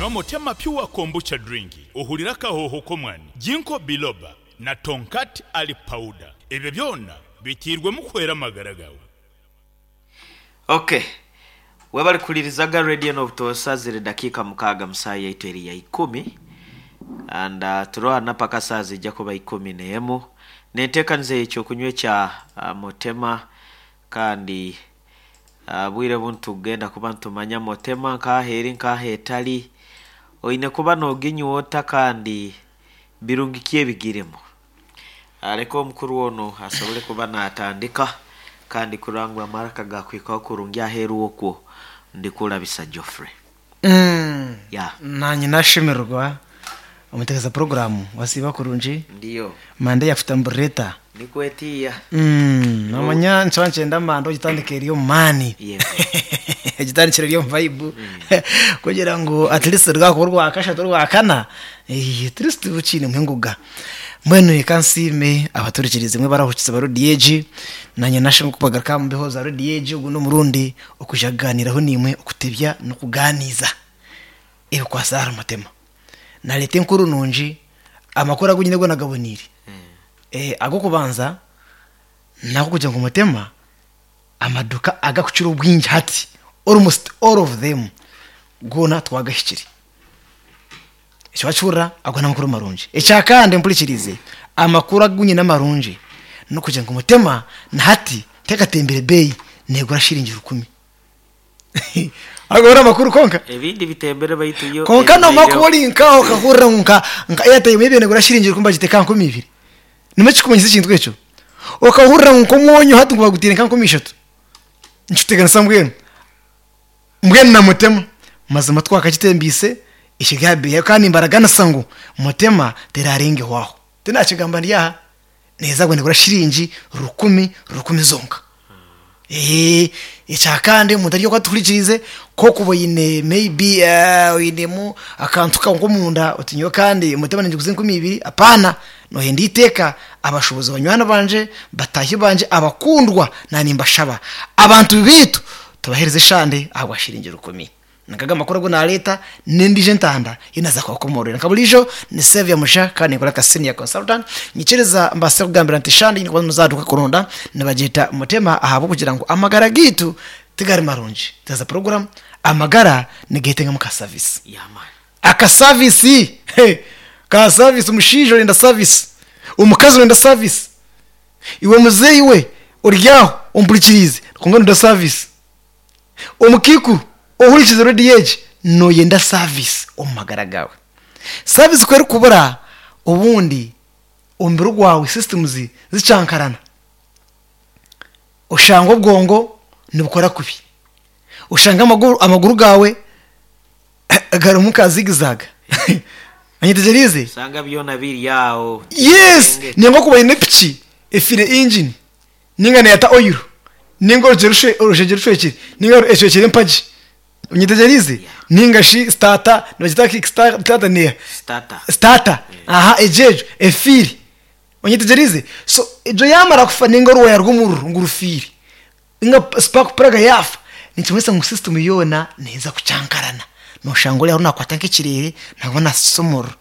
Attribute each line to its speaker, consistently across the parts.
Speaker 1: Nywa Motema Pure Kombucha Drink ohurire akahooho k'omwani, Ginkgo Biloba na Tongkat Ali Powder. Ebyo byona biteirwemu kuhwera amagara gaawe.
Speaker 2: Ok. Webale kuhuririzaga radio n'obutoosa ziri dakiika mukaaga musaaha yaitu eri ya ikumi and uh, turohana paka saaha zijja kuba ikumi n'emu n'enteekaniza y'ekyokunywa ekya uh, Motema kandi uh, bwire obu nitugenda kuba nitumanya Motema nk'aha eri nk'aha etari oine kuba nooginywa ota kandi birungi ki ebigirimu. Leka omukuru onu asobole kuba natandika kandi kurora ngu amaraka gakuhikaho kurungi aheru okwo ndikurabisa Geoffrey. Yeah.
Speaker 3: Nanye nashemererwa omutegeza puroguramu wasiiba kurungi
Speaker 2: Ndiyo.
Speaker 3: manda eyakutamburira eta?
Speaker 2: Nikwetiiya.
Speaker 3: Nomanya nikyiba nikyenda manda ogitandika eri omu maani
Speaker 2: Yego.
Speaker 3: ogitandikire eri omu vibe kugira ngu at least rwakuba orwakashatu orwakana at least okiinemu engoga. Mbwenu reka nsiime abaturikirize imwe abarahukize ba rediyo egi, naanye nashemeriirwe kubagaruka aha mbeho za rediyo egi ogu n'omurundi okwija kugaaniiraho naimwe okutebya n'okugaaniiza ebikwatsire ahari Mutema. Naareeta enkuru nungi, amakuru agu nyine goona gaboneire. Ag'okubanza n'agokugira ngu Mutema amaduuka agakukira obwingi hati almost all of them goona twagahikire. Eki wakihurira ago n'amakuru marungi. Ekyakandi mpurikirize, amakuru agu nyine amarungi n'okugira ngu Mutema na hati tekatembire beeyi neegura shiringi rukumi. Ago n'amakuru kwonka.
Speaker 2: Ebindi bitembere baitu yo
Speaker 3: Kwonka noomara
Speaker 2: ebaireho.
Speaker 3: kuba ori nk'aho okahurira ngu nka nka airtime ebaire neegura shiringi rukumi bagiteeka aha 20,000. Nimwo ekikumanyisa ekintu ekyo. Okahurira ngu nk'omwonyo hati ngu bagutaire nka 3000. Nikikuteganisa mbwenu. Mbwenu na Mutema mazima twakagitembiise ekiri aha beeyi kandi nimbaraganisa ngu Mutema terarengehwaho. Tinakigamba ndi aha, neeza kuba negura shiringi rukumi rukumi zonka. Ekyakandi omuntu ari oku atuhurikiriize ku orikuba oine maybe oinemu akantu kawe nk'omunda oti nyowe kandi Mutema ningiguza enkumi ibiri, apaana, nohenda eiteeka abashuubuzi banywani bangye, bataahi bangye abakundwa naanimbashaba abantu beitu Tubaheereze eshande ahabwa shiringi rukumi. Nkaga amakuru agu naareeta n'endiijo entanda ei naaza kubakomoororera. Nka buriijo ni Saviour Musha kandi ninkora nka senior consultant. Nyikiriza mbaase kukugambira nti eshande ei ndikuba muzaduka kuronda nibagyeta Mutema ahabw'okugira ngu amagara gaitu tigari marungi. Twaza puroguramu, amagara nigeetengamu ka service. Aka service! Ka service, omushaija orenda service, omukazi orenda service. Iwe muzeeyi we ori aho ompurikiriize kwonka noyenda service. Omukaikuru ohurikiize rediyo egi noyenda service omu magara gaawe. Service ku erikubura obundi omubiri gwawe systems zikyankarana oshanga obwongo nibukora kubi, oshanga amaguru gaawe garimu nka zigzag onyetegyereize?
Speaker 2: Osanga byona biri aho.
Speaker 3: Yes! Ninga okuba oine epiki efiire engine ninga neyata oil ninga orushegye rushwekire ninga eshwekire empagi onyetegyereize? Ninga shi sitaata nibagyeta ki sitaata neeha?
Speaker 2: Starter.
Speaker 3: Sitaata aha egyo egyo efiire onyetegyereize? So egyo yamara kufa ninga oruwaaya rw'omuriro ngu rufiire Ninga spark plug yaafa, nikimanyisa ngu system yoona neeza kukyankarana. Noshanga ori aho nakwata nk'ekireere nangwa naasisa omuriro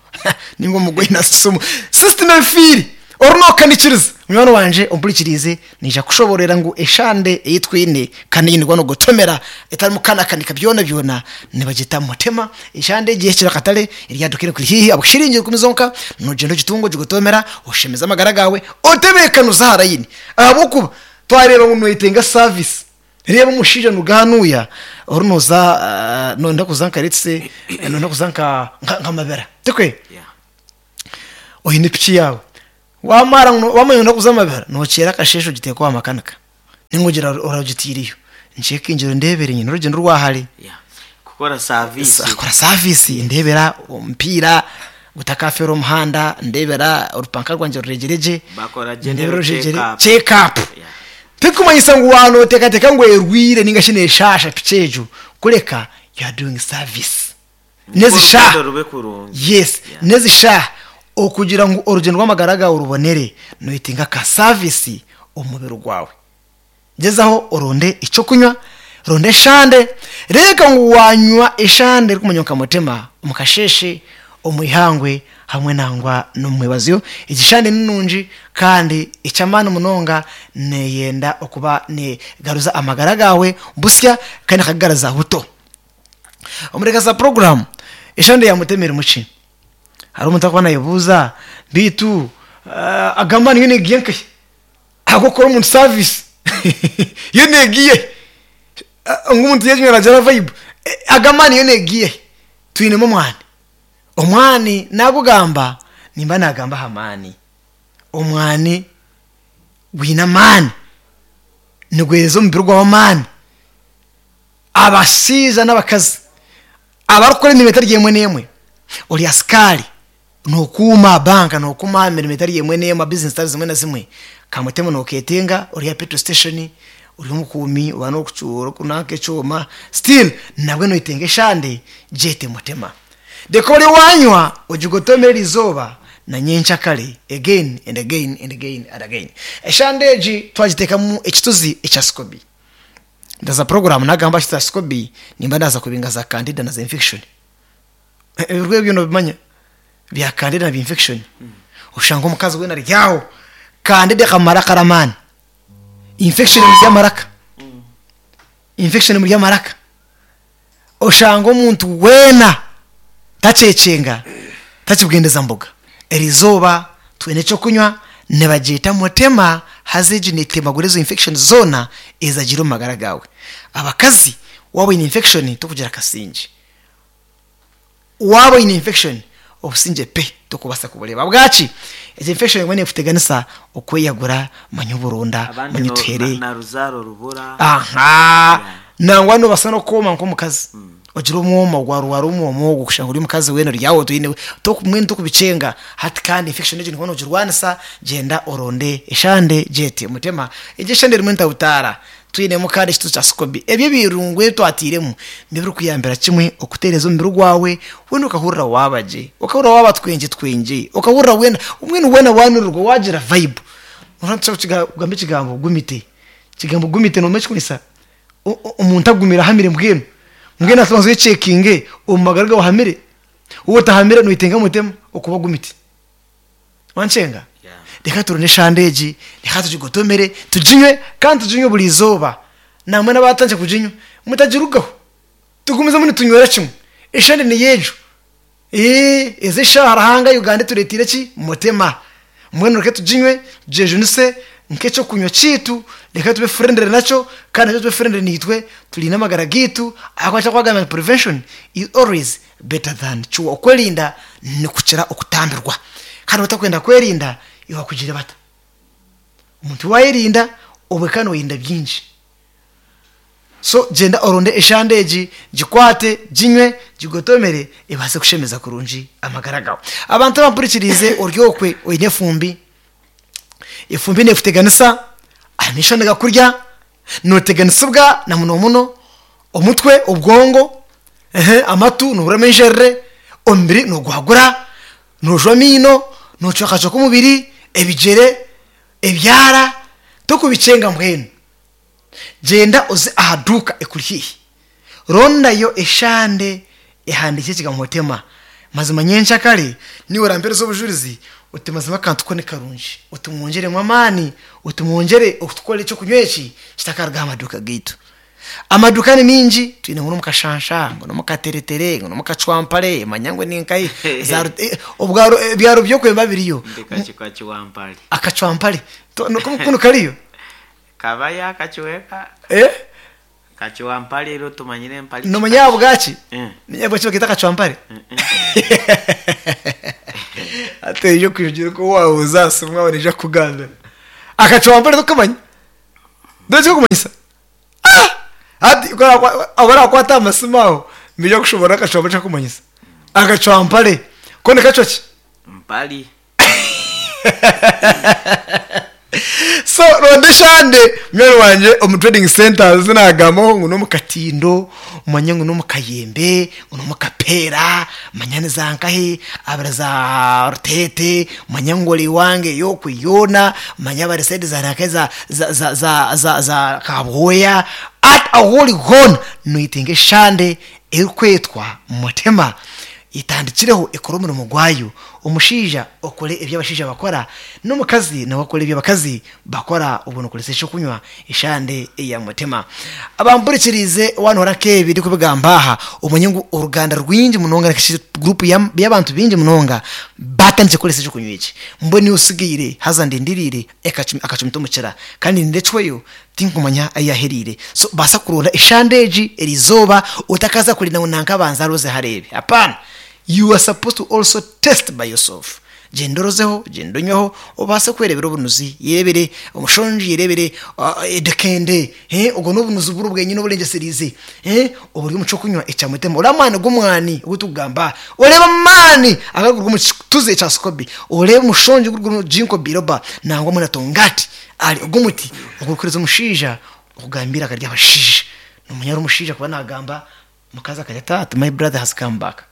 Speaker 3: ninga omugoye naasisa omuriro. System efiire, ori nokanikiriza. Munywani wangye ompurikiriize, naija kukushoboororera ngu eshande ei twine kandi ei nikuba nogotomera etarimu kukanakanika byona byona nibagyeta mutema. Eshande egi ehikire akatare eryaduka erikuri haihi ahabwa shiringi rukumi zonka, nogyenda ogitunga ogigotomera oshemeze amagara gaawe otebeekanuze aha layini ahabw'okuba Twareeba ngu noyetenga service, reeba omushaija nuga hanuya ori noza noyenda kuza nka let's say noyenda kuza nka nka Mabera tikwe?
Speaker 2: Yeah.
Speaker 3: Oine piki yaawe wamara ngu wamanya noyenda kuza Mabera nokyera akasheeshe ogiteeka owa makanika ninga ogira oragitiireyo nkyekingire ondeebere nyine orugyendo rwa hare.
Speaker 2: Yeah. Kukora service.
Speaker 3: Kora service ndeebera omupiira gutakafeera omuhanda, ndeebera orupanka rwangye ruregire gye,
Speaker 2: Bakora
Speaker 3: ndeebera
Speaker 2: general
Speaker 3: orujegyere
Speaker 2: check up.
Speaker 3: check up.
Speaker 2: Yeah.
Speaker 3: Tirikumanyisa ngu waaba nooteekateeka ngu erwaire ninga shi neeshaasha piki egyo, kureka you are doing service.
Speaker 2: Nikwo
Speaker 3: N'ezi shaaha
Speaker 2: oruguuto rube kurungi.
Speaker 3: yes,
Speaker 2: Yeah.
Speaker 3: n'ezi shaaha okugira ngu orugyendo rw'amagara gaawe rubonere, noyetenga ka service omu mubiri gwawe. Gyezaho oronde eky'okunywa. Ronda eshande, reeka ngu waanywa eshande erikumanywa nka Mutema omu kasheeshe, omu ihangwe hamwe nangwa n'omu mwebazyo. Egi shande ni nungi kandi eky'amaani munonga neeyenda okuba neegaruza amagara gaawe busya kandi ekagagaruza buto. Omuri za puroguraamu, eshande ya Mutema erimu ki? Hariho omuntu arikuba naayebuuza beitu aga amaani yo neegiiha nkahi? Ahabw'okukora omuntu saavisi yo neegiiha hi? Ngu omuntu yaginywa naagira vayibu, aga amaani yo neegiiha hi? Twinemu omwani. Omwani naagugamba nimba naagamba aha maani. Omwani gwine amaani, niguheereza omubiri gwawe amaani. Abashaija n'abakazi abarikukora emirimo etari emwe n'emwe, ori asikaari, Nokuuma banka nokuuma aha mirimo etari emwe n'emwe aha bizinesi zitari zimwe na zimwe kamutemu noketenga ori aha petrol station ori omukuumi oba orikunanka ekyoma still nabwe noyetenga eshande gyete mutema reka ori wanywa ogigotomere erizooba na nyenkyakare again and again and again and again. Eshande egi twagitekamu ekituzi ekya sikobi ndaza puroguramu nagamba aha kituzi kya sikobi nimba naza kubinga za candida na za infection. Ebirwa ebyo nobimanya bya candida na bya infection oshanga omukazi weena ari aho candida ekamumara akaramaani infection emuri amaraka infection emuri amaraka oshanga omuntu weena takyekyenga takibwendeza mboga erizooba twine ekyokunywa nibagyeta mutema haza egi netemagura ezo infection zoona ezagiire omu magara gaawe abakazi waaba oyine infection tokugira akasingye. Waaba oine infection obusingye pe tokubaasa kubureeba. Ahabwaki? Egyo infection ebumwe nekuteganisa okweyagura manya oburonda
Speaker 2: Abandi
Speaker 3: manya
Speaker 2: no-
Speaker 3: otuhere.
Speaker 2: na- na ruzaaro rubura.
Speaker 3: Aha! Nangwa noobaasa n'okwoma nk'omukazi ogire omwoma gwarwara omwoma ogwo kushanga ori omukazi weena ori aho toine toku mbwenu tokubikyenga hati kandi infection egyo noba noogirwanisa gyenda oronde eshande gyete mutema. Egyo eshande erimu entabutaara Twinemu kandi ekituuzo kya sikobi. Ebyo ebirungo ebi twatairemu nibirikuyambira kimwe okutereeza omubiri gwawe, weena okahurira waaba gye, okahurira waaba twengye twengye, okahurira weena mbwenu weena waanurirwa waagira vibe. Noshusha nitushusha kugamba ekigambo gumite. Ekigambo gumite noomanya ekirikumanyisa? Omuntu agumire ahamire mbwenu. Mbwenu hati banza oyechekinge omu magara gaawe ohamire? Waaba otahamire noyetenga mutema okuba gumite. Wankyenga? Reka turone eshande egi, reka tugigotomere, tuginywe kandi tuginywe buri izooba. Namwe n'abaatandikire kuginywa, mutagirugaho. Tugumizemu nitunywera kimwe. Eshande niyo egyo. Ee, ezi eshaaha Ruhanga Uganda etureeteire ki? Mutema. Mbwenu reka tuginywe, tugyejunise nk'eky'okunywa kyaitu, reka tube friendly nakyo kandi nakyo kibe friendly naitwe, turinde amagara gaitu ahabw'okuba nikyo barikugamba ngu prevention is always better than cure. Okwerinda nikukira okutambirwa. Kandi otakwenda kwerinda iwe bakugire bata? Omuntu wayerinda obwe kandi noyerinda bingi. So gyenda oronde eshande egi, gikwate, ginywe, gigotomere ebaase kushemeza kurungi amagara gawe. Abantu abampurikiriize ori okwe oine efumbi, efumbi nekuteganisa, amaisho nigakurya, Nooteganisibwa na muno muno omutwe, obwongo, amatu noohuriramu enjerere, omubiri noogwagura, noojwa amaino, noocwekacweka omubiri, ebigyere, ebyara, tokubikyenga mbwenu. Gyenda oze aha duuka ekuri haihi, rondayo eshande ehandiikire ekigambo Mutema. Mazima nyenkyakare niiwe orampeereza obujurizi oti mazima akantu ko ni karungi, oti mwongyeremu amaani, oti mwongyere okutukora eky'okunywa eki kitakaruga aha maduuka gaitu. Amaduuka ni maingi, twine ngu n'omu Kashansha, ngu n'omu Kateretere, ngu n'omu Kacwampare, manya ngu ni nkahi, za Rut- obwaro ebyaro by'okwemba biriyo.
Speaker 2: Ndi Kacwampare.
Speaker 3: Akacwampare, to- kunu kariyo?
Speaker 2: Kabayo akacweka.
Speaker 3: Eh?
Speaker 2: Kacwampare ero tumanyire empare
Speaker 3: Nomanya ahabwaki? Nomanya ahabwaki bakeeta akacwampare? Hati oija kwijugira oku waabuuza aha simu waaba naija kukugambira. Akacwampare tokamanya? Ndooza ekirikumanyisa? Ah! Hati ku abarakwata aha masimu aho nibaija kushoboorora akacwampare eki karikumanyisa. Akacwampare ko nikacwa ki?
Speaker 2: Mpare.
Speaker 3: So ronda eshande munywani wangye omu trading centers ezi nagambaho ngu n'omu Katindo, Manya ngu n'omu Kayembe, ngu n'omu Kapeera, manya ni za nkahi, abari za Ruteete, manya ngu ori owange eyo okwe yoona, manya abari sayidi za nanka za za za za za za Kabwoya, ati ahu ori hoona noyetenga eshande erikwetwa Mutima. Etandikireho ekore omurimo gwayo. Omushaija okore ebi abashaija bakora, n'omukazi nawe akore ebi abakazi bakora obwo nokoresa ekyokunywa eshande eya Mutima. Abampurikiriize wanoora nk'ebi ndikubigamba aha, omanye ngu oruganda rwingi munonga nari guruupu y'abantu baingi munonga baatandikire kukoresa ekyokunywa eki. Mbwenu iwe osigaire haza ndindiriire akacumita omukira kandi ndinde ecweyo tinkumanya ahu yaahereire. So baasa kuronda eshande egi eriizooba otakaza kurinda ngu nanka abanze arozeho areebe. Hapaana! You are supposed to also test by yourself. Gyenda orozeho, gyenda onyweho, obaase kwereebera obunuzi, yereebere omushongi, yereebere edekende, obwo n'obunuzi buri bwenyine oburengyesereize, oburi omu ky'okunywa ekya mutima. Oreebe amaani g'omwani ogu turikugamba aha, oreebe amaani agarikuruga omu kituzi ekya sikobi, oreebe omushongi ogurikuruga omu jinko biroba nangwa hamwe na tongati, ahari ogu omuti ogurikuheereza omushaija okugamba eiraka ry'abashaija. Noomanya ari omushaija kuba naagamba, omukazi akagira ati, ati my brother has come back.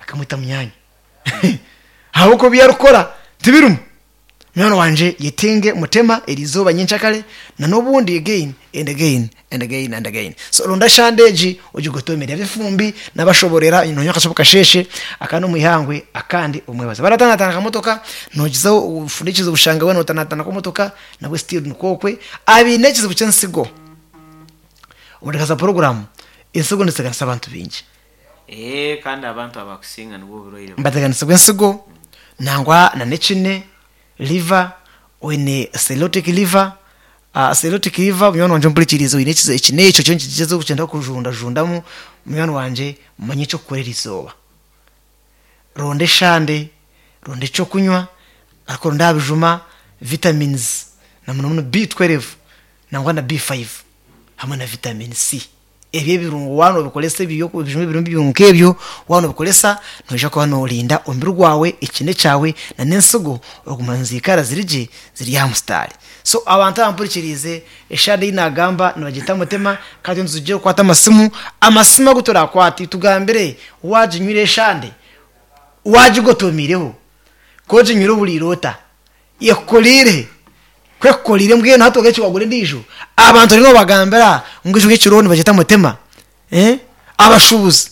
Speaker 3: Akamweta munyaanya. Ahabw'okuba ebi arikukora tibirimu. Munywani wangye yetenge mutema eriizooba nyenkyakare na n'obundi again and again and again and again. So ronda eshande egi ogigotomere. Ab'efumbi nabashoborera nonywa akashobo kasheeshe akandi omu ihangwe akandi omwebazo. Baratanatana akamotoka nogizaho ofundikize obushanga bwawe notanatana akamotoka nabwe still nikwo okwe. Abaine ekizibu ky'ensigo omu puroguramu ensigo niziteganisa abantu baingi.
Speaker 2: Ee, kandi abantu abakusinga nibwo oburwaire burimu.
Speaker 3: Nibateganisibwa ensigo nangwa na n'ekine, liver, oine cirrhotic liver, cirrhotic liver munywani wangye ompurikiriize oine ekine ekyo kyo nikigyezaho kugyenda kujundajundamu, munywani wangye manya eky'okukora erizooba. Ronda eshande, ronda eky'okunywa, ariko oronde aha bijuma, vitamins na munomuno B12 nangwa na B5 hamwe na vitamin C. Ebyo ebirungo waaba noobikoresa ebyo ebijuma ebirimu ebirungo nk'ebyo, waaba noobikoresa noija kuba noorinda omubiri gwawe, ekine kyawe n'ensigo okuguma niziikara ziri gye ziri aha musitaari. So abantu abampurikiriize, eshaaha ei naagamba nibagyeta Mutima kandi nitwija kukwata amasimu, amasimu agu turaakwate tugambire waaginywire eshande, waagigotomiireho, ku oginywire ohuriire ota? Ekukoriire, ku ekukoriire mbwenu hati ogaruke wagura endiijo, abantu oriyo nobagambira ngu ekyo ekiriho nibagyeta mutima, abashuubuzi,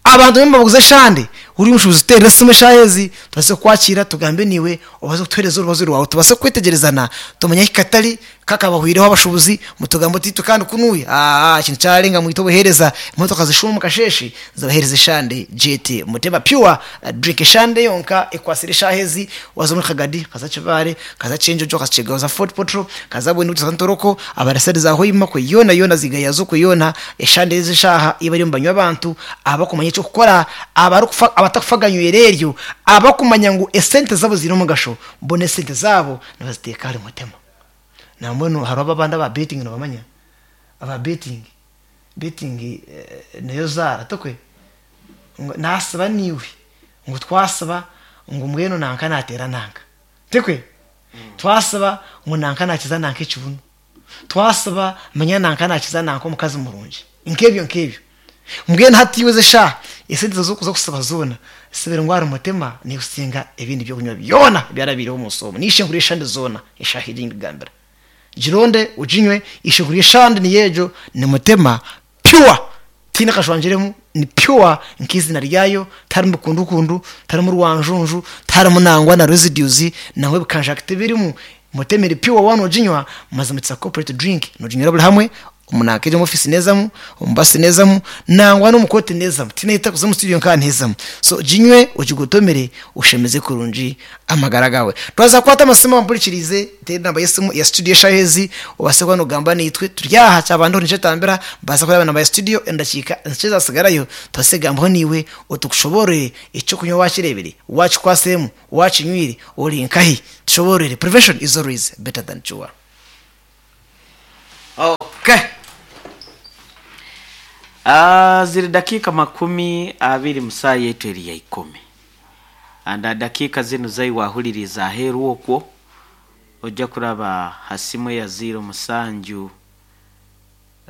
Speaker 3: abantu bariyo nibaguza eshande, ori omushuubuzi tuteerere esimu eshaaha ezi tubaase kukwakira tugambe naiwe obaase kutuheereza orubazo rwawe tubaase kwetegyerezana tumanye ahu katari kakabahwireho abashuubuzi mutugambe oti itwe kandi kunuuya aa ekintu kyarenga mwite obuheereza emotoka zishuume omu kasheeshe zibaheereze eshande gyete mutima pure drink eshande yonka ekwatsire eshaaha ezi Waza omuri Kagadi, kaza Kibaare, kaza Kyenjojo, kaza Kyegaho, Fort Portal, kaza Bwindi, kaza Ntoroko, abarasari za Hoima kwe yoona yoona zigayazo kwe yoona, eshande ezi eshaaha ei bariyo nibanywa abantu abakumanya eky'okukora, abarikufa abatakufa ganywera eryo, abakumanya ngu esente zaabo ziine omugasho, bo n'esente zaabo nibaziteeka ahari Mutima. Nambwenu hariho abandi aba betting nobamanya? Aba betting, betting niyo zaara tikwe? Ngu nasiba naiwe. Ngu twasiba ngu mbwenu nanka nateera nanka. Tikwe? Twasiba ngu nanka nakiza nanka ekibunu. Twasiba manya nanka nakiza nanka omukazi murungi. Nk'ebyo nk'ebyo. Mbwenu hati iwe ezi eshaaha, esente ezi orikuza kusiba zoona, sibira ngu ahari Mutima nekusinga ebindi by'okunywa byona ebyarabaireho omu nsi omu. N'eishenkuru y'eshande zoona eshaaha egi ndikugambira. Gironde oginywe, eishenkuru y'eshande niyo egyo, ni Mutima pure tihaine akashwangiremu ni pure nk'eizina ryayo tiharimu bikundukundu tiharimu rwanjunju tiharimu nangwa na residues nangwa ebikanjaki tibirimu mutima eri pure waaba noginywa mazima it's a corporate drink noginywera buri hamwe omu nanka egi omu office neezamu omu basi neezamu nangwa n'omu kooti neezamu tihaine ahu etakuza omu studio nkaha neezamu so ginywe ogigotomere oshemeze kurungi amagara gaawe. Twaza kukwata amasimu ampurikiriize, nteire enamba y'esimu ya studio eshaaha ezi, obaase kuba nogamba naitwe. Turi aha, kyaba ndiho nikyetambira, mbaasa kureeba enamba ya studio endakiika nkye ezatsigarayo, tubaase kugambaho naiwe, otukushoboororere eky'okunywa waakireebire, waakikwatsiremu, waakinywire, ori nkahi? Tushoboororere. Prevention is always better than cure.
Speaker 2: Okay. Ah, ziri dakiika 20 mu saaha yaitu eri ya ikumi. And aha dakiika zinu zai wahuririize aheeru okwo, ojja kuraba ha simu eya ziiro musanju.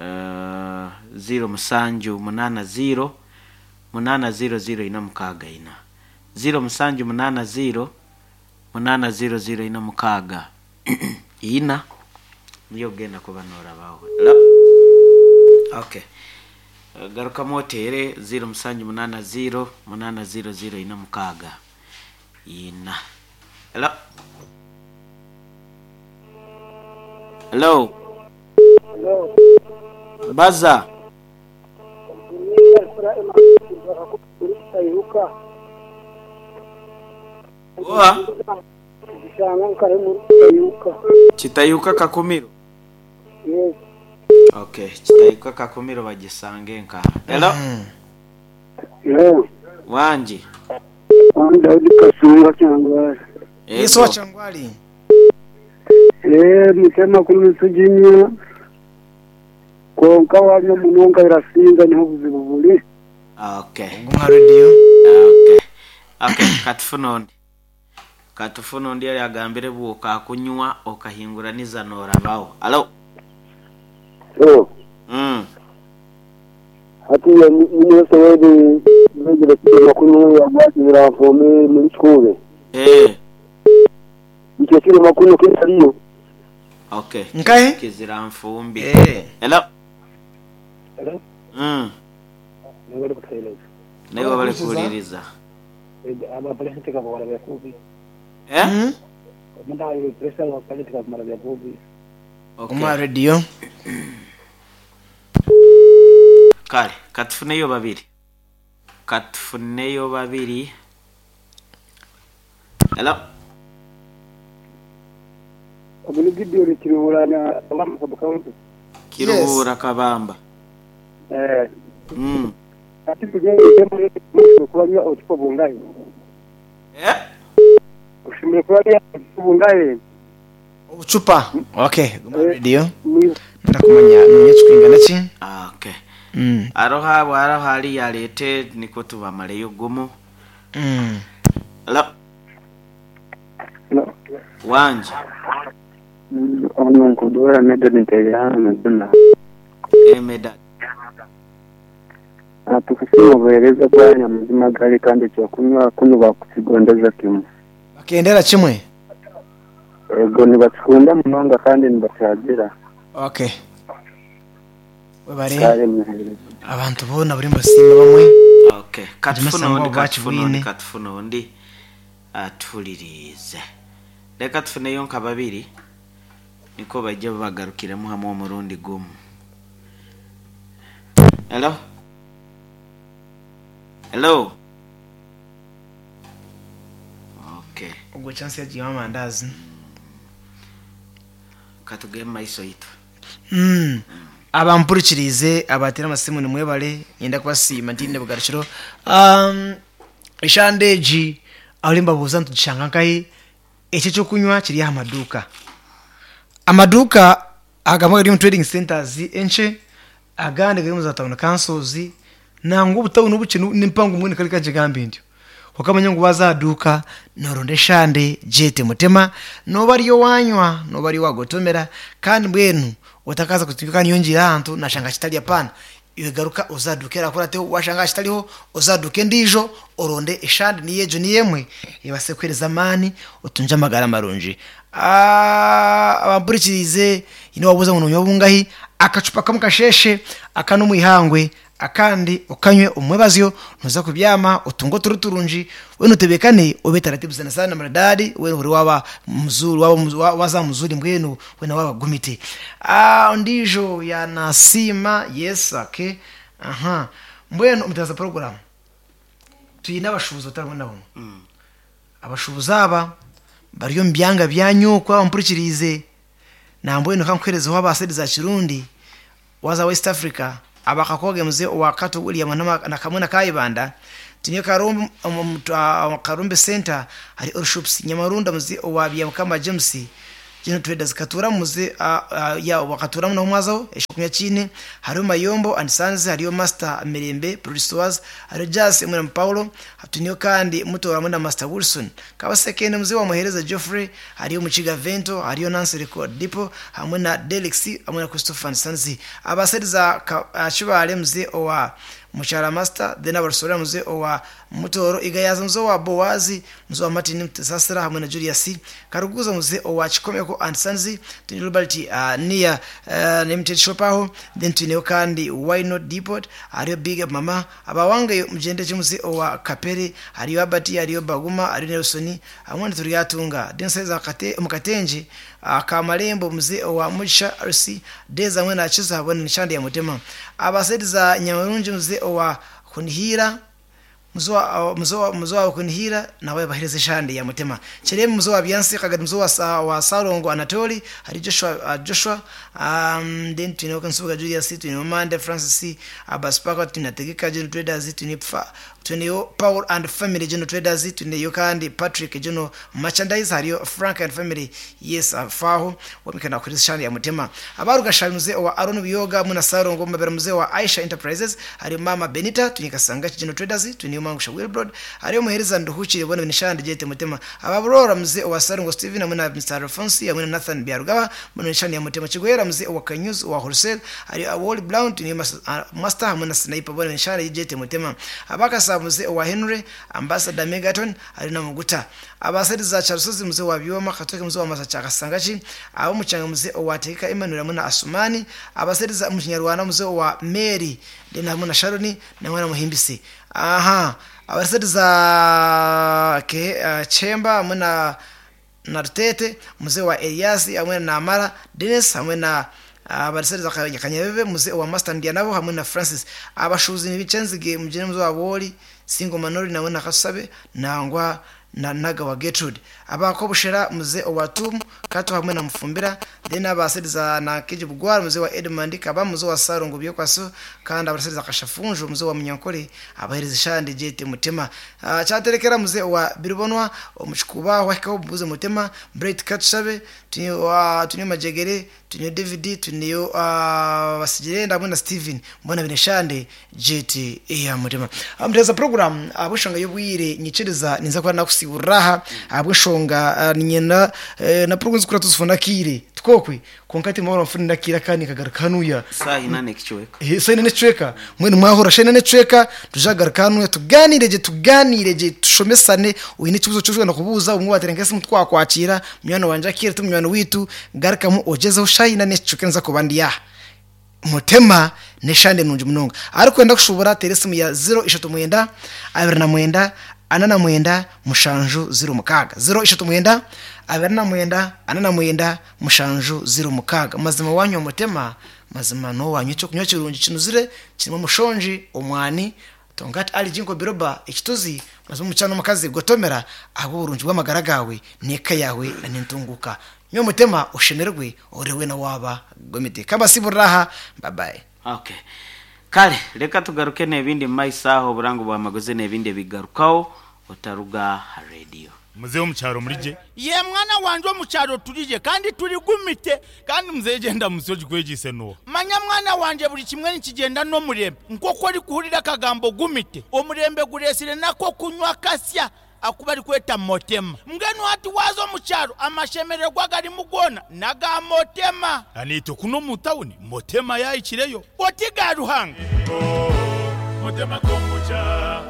Speaker 2: 0780 800 464. 0780 800 464 niyo ogenda kuba norabaho. Hello? Okay. Garukamu oteere 0780 800 464. Hello? Hello? Baza. Oha? Kitayuka Kakumiro. Okay, Kitayuka Kakumiro bagisange nka. Hello? Wangi.
Speaker 4: Daudi Kasunga Kyangwali.
Speaker 3: Yesu wa Kyangwali.
Speaker 4: Mutema kunusujinya. Konka wanywa munonga irasinga niho buzibu buri.
Speaker 2: Okay.
Speaker 3: Guma radio.
Speaker 2: Okay. Okay, katufuna ondi. Katufuna ondi yali agambire bwoka akunywa okahinguraniza norabaho. Hello?
Speaker 4: Hello. Hati ya mwese wedi mwegere makunu ya mwakira fome muri skule. Mchekire makunu kitaliyo.
Speaker 2: Okay.
Speaker 3: Nkahe?
Speaker 2: Kizira mfumbi. Hello?
Speaker 4: Hello? Nabali kuteleza.
Speaker 2: Nawe bali kuuliriza.
Speaker 4: Aba president ka bora byakubi. Munda ayo president wa president ka mara byakubi.
Speaker 2: Okay.
Speaker 3: Guma radio.
Speaker 2: Kale, katufuneyo babiri. Katufuneyo babiri. Hello?
Speaker 4: Omunigidi Kiruhura na Kabamba County.
Speaker 2: Kiruhura Kabamba.
Speaker 4: Ati tugende muri kuba otupo bungahe. Ushimire kuba bungahe.
Speaker 3: Obucupa. Okay, guma radio. Ndakumanya numye kikwingana ki?
Speaker 2: Okay. Aroha bwara hali yalete niko tubamaleyo gumu. Hello?
Speaker 4: Hello.
Speaker 2: Wanje.
Speaker 4: Ono nkudora medad ntegana duna.
Speaker 2: Medad.
Speaker 4: Atukusima obuheereza bwanyu amazima gari kandi ekyokunywa kunu bakukigondeza kimwe.
Speaker 3: Bakendera kimwe?
Speaker 4: Ego nibakikunda munonga kandi nibakyagira.
Speaker 3: Okay. Webare. Abantu bona buri mbasiima bamwe.
Speaker 2: Okay. Katufuna ondi katufuna ondi katufuna ondi atulirize. Leka tufuneyo nka babiri niko bajja bagarukiremu hamwe omurundi gumu. Hello? Hello? Okay.
Speaker 3: Ogwo chance yagiye amandazi.
Speaker 2: Katugeme maiso yitu.
Speaker 3: Abampurikirize abatera amasimu nimwebale nyenda kubasiima ntinde bugarukiro. Eshandeji aho mbabuuza ntugishanga nkahi ekyo ekyokunywa kiri aha maduuka. Amaduuka agamwe gari omu trading centers enkye agandi gari omu za town councils nangwa obutawuni obukye n'empango mbwenu kare kankigambe ntyo. Okamanya ngu waza aha duuka noronda eshande gyete mutema noba ariyo wanywa noba ariyo wagotomera kandi mbwenu otakaza kutuka niyongira ahantu nashanga kitari apana iwe garuka ozaduka erakurateho washanga kitariho ozaduka endiijo oronde eshande niyo egyo niyo emwe ebase kuhereza amaani otunge amagara marungi. Abampurikirize yine wabuuza ngu nonywa bungahi akacupa kamwe kasheshe aka n'omwihangwe akandi okanywe omwebazyo noza kubyama otunge oturo turungi wena otebekane obe taratibu sana sana maridadi wena ori waba mzuri waba waza mzuri mbwenu wena waba gumite. Ondiijo yanasiima yes okay. Aha mbwenu omutaza program tuyine abashubuzi batari nabo. Abashubuzi aba bari omu byanga byanyu kuba bampurikirize nambwenu kankuherezeho abasedi za Kirundi waza West Africa abakakoge mzee wa Kato William na kamwe na Kayibanda tinye Karumbe Karumbe Center hari all shops Nyamarunda mzee wa Byamukama James General Traders Katuura muze ya Katuura naho mwazaho ekyokunywa kiine hariho Mayombo and Sons hariyo Master Mirembe Produce hariyo Jas hamwe na Paulo twineyo kandi Mutooro hamwe na Master Wilson Kabasekende muze wa Muhereza Geoffrey hariyo Mukiga Vento hariyo Nancy Record Depot hamwe na Delix hamwe na Christopher and Sons abaseriza Kibaale muze owa Mukyara Master then abarusorera muze owa Mutooro Igayaza muze owa Bowazi muze wa Martin Mutesasira hamwe na Julius Karuguza muze owa Kikomeko and Sons twine Robert Nia Limited Shop aho then twineyo kandi Why Not Depot hariyo Big Up Mama abawangayo mugyende gye muze owa Kapere hariyo Albert hariyo Baguma hariyo Nelson hamwe na Turyatunga then saiza Mukatengye Kamarembo muze owa Mugisha RC Days hamwe na Kiza hamwe na Nshandi ya Mutema abaseriza Nyamurungi muze owa Kunihira muzo wa Kunihira nawe bahereze shandi ya Mutema Kiremu muzo wa Byansi Kagari muzo wa Sarongo Anatoli hari Joshua then twine Kansubuga Julius twine Mande Francis Abaspaka twine Tegeka General Traders twine twine Paul and Family General Traders twine kandi Patrick General Merchandise hariyo Frank and Family yes afaho wamikana kuri shandi ya Mutema abaruga shamuze wa Aaron Biyoga muna Sarongo mabera muze wa Aisha Enterprises hari Mama Benita twine Kasanga General Traders twine Mangusha Wilbrod hariyo Muhereza Nduhukire bona nishandi jete Mutema ababurora muze wa Sarongo Steven hamwe na Mr Alphonse hamwe na Nathan Byarugaba bona nishandi ya Mutema Kigwera muze wa Kanyuzi wa Wholesale hariyo Wall Brown twine Master hamwe na Sniper bona nishandi jete Mutema abakasa muze wa Henry Ambassador Megaton hari na Muguta abaseriza Charles muze wa Byoma Katoke muze wa Masacha Kasangachi abo mucanga muze wa Teka Emmanuel hamwe na Asumani abaseriza mu Kinyarwanda muze wa Mary then hamwe na Sharoni na mwana Muhimbisi aha abaseriza Chemba hamwe na Rutete muze wa Elias hamwe na Amara Dennis hamwe na abaseriza Kanyabebe muze wa Master Ndianabo hamwe na Francis abashuzi nibicenzige mugene muze wa Boli Singo Manori nawe na Kasabe nangwa na Naga wa Gertrude abakobushera muze wa Tum Kato hamwe na Mufumbira then abaseriza na Keji Bugwara muze wa Edmund Kaba muze wa Sarongo Byokwaso kandi abaseriza Kashafunjo muze wa Munyankole abahereza shandi jete Mutema cyaterekera muze wa Birubonwa omuchikuba wahikaho buze Mutema Bright Katshabe tunyo Majegere tunyo David tunyo Basigire hamwe na Steven mbona bine shandi jete ya Mutema amuteza program abushonga yobwire nyikiriza ninza kwa nakusiburaha abwishonga ninyena na program zikura tuzifuna kire twokwe konkati mahoro mfuni nakira kandi kagaruka hanuya
Speaker 2: saha inane kichweka
Speaker 3: saha inane kichweka mwene mwahora saha inane kichweka tujagaruka hanuya tuganireje tuganireje tushomesane uyu n'ikibazo cy'ushobora kubuza umwe waterenga se mutwakwakira munywani wanje akira tumunywana witu garukamu ogezeho saha inane kichweka nza kubandi ya Mutema neshande nungi munonga ariko wenda kushobora teresimu ya 039 29 49 7 06 039 29 49 7 06 mazima wanywa Mutema mazima no wanywa icyo kunywa kirungi kinuzire kirimo mushonji omwani tongati ali jinko biroba ekituzi mazima umucano mukazi gotomera abo burungi bw'amagara gawe neka yawe na nintunguka nyo Mutema ushemerwe orewe na waba gomite kabasiburaha bye bye.
Speaker 2: Okay kale reka tugaruke n'ebindi mumaiso oburango bwamagozi n'ebindi ebigarukaho otaruga radio
Speaker 1: muze omukyaro murije ye mwana wanje omukyaro turije kandi turigumite kandi muzehe genda musi ogikwegise nuwo manya mwana wanje buri kimwe nikigenda n'omurembe nk'oku orikuhurira akagambo gumite omurembe guresire nako kunywa kasya akuba arikweta Motema mbwenu hati waza omukyaro amashemererwa garimu gona naga Motema anito kuno mu tawuni Motema yayikireyo oti ga Ruhanga Motema kombucha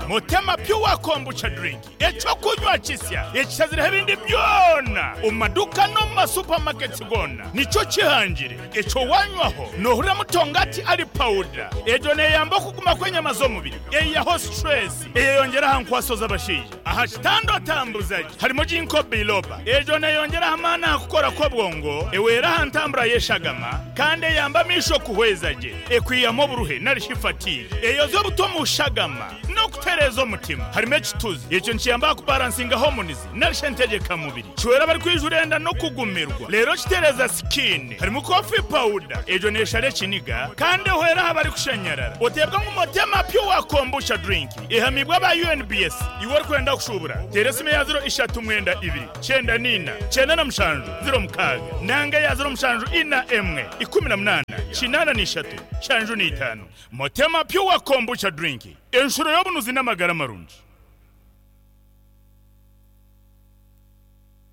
Speaker 1: Mutema pure kombucha drink ekyokunywa kisya ekishazireho ebindi byona omu maduka no mu masupamaketi gona nikyo kihangire ekyo wanywaho nohurira mutongati ali powder egyo neyamba okuguma kw'enyama z'omubiri eyiyaho stress eyeyongera aha nkwaso z'abashaija aha kitanda otambuzagi harimo ginkgo biloba egyo neyongera amaani aha kukora kw'obwongo ewera aha ntambura y'eshagama kandi eyamba amaisho kuhweza gye ekwiyamu oburuhe narishi fatigue eyoza obuto mu shagama no okutereeza omutima. Harimu ekituzi, ekyo nikiyamba aha kubaransinga homonizi nari shi entegyekamubiri. Kihwera abarikwijura enda n'okugumirwa, reero kitereeza sikiini. Harimu kofi pawuda, egyo neeshara ekiniga kandi ehwera aha barikushanyarara. Oteebwa ngu Motema Pure Kombucha Drink ehamiibwe aba UNBS. Iwe orikwenda kushuubura, teera esimu eya ziro ishatu mwenda ibiri, kyenda n'ina, kyenda na mushanju, ziro mukaaga, nanga eya ziro mushanju ina emwe, 18, 83, 75. Motema Pure Kombucha Drink, enshuro y'obunuzi n'amagara marungi.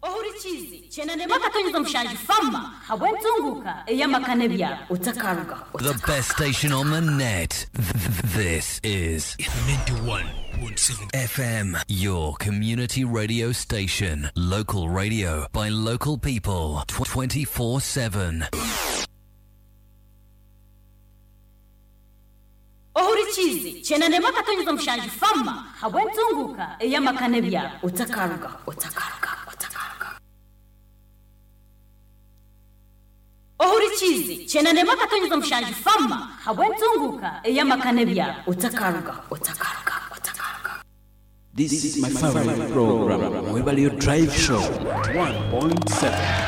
Speaker 5: Ohurikiize, Kyenda n'akatonyeza mushanju Fama habw'entunguuka ey'amaka n'ebyaro. Otakarugaho.
Speaker 6: The best station on the net. This is
Speaker 7: 91.7
Speaker 6: FM, your community radio station. Local radio by local people 24 7.
Speaker 5: Ohurikiize, Kyenda n'akatonyeza mushanju Fama habw'entunguuka ey'amaka n'ebyaro. Otakarugaho. Otakarugaho. Otakarugaho. Ohurikiize, Kyenda n'akatonyeza mushanju Fama habw'entunguuka ey'amaka n'ebyaro. Otakarugaho. Otakarugaho. Otakarugaho.
Speaker 8: This is my favorite program, Webalio Drive Show 1.7.